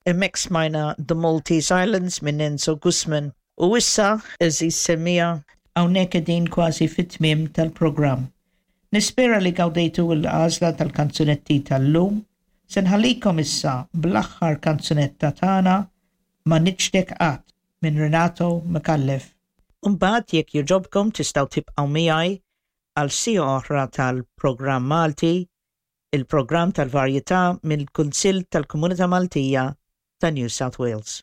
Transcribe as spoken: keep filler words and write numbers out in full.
Hemmhekk smajna The Maltese Islands minn Enzo Gusman. U issa, għeżież semmiegħa, hawnhekk qegħdin kważi fit-tmiem tal-programm. Nispera li gawdejtu l-għażla tal-kanzunetti tal-lum. Se nħallikom issa bl-aħħar kanzunetta tagħna Ma Niċħdek Qatt minn Renato Micallef. Umbagħad jekk jogħġobkom tistgħu tibqgħu miegħi għal siegħa oħra tal-programm Malti, il-programm tal-varjetà mill-Kunsill tal-Komunità Maltija ta' New South Wales.